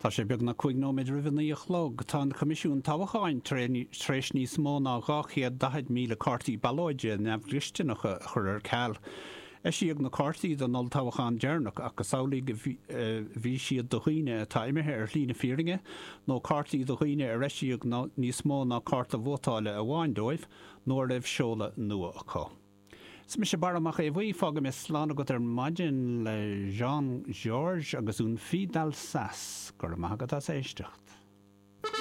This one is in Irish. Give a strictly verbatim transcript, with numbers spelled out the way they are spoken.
Tá sé beagnach cúig nóiméad roimh a naoi a chlog. Tá an Coimisiún Toghcháin tar éis níos mó ná dhá chéad daichead míle cártaí ballóide neamhdhlisteanacha a chur ar ceal. Eisíodh na cártaí don olltoghchán deireanach ach is amhlaidh a bhí siad do dhaoine atá imithe ar shlí na fírinne nó cártaí do dhaoine ar eisíodh níos mó ná cárta vótála amháin dóibh nó a raibh seoladh nua acu. Is mise Barra Mac Aodha Bhuí, fágfaidh mé slán agat ar maidin le Jean Georges agus Une fille d'Alsace. Go raibh maith agat as éisteacht.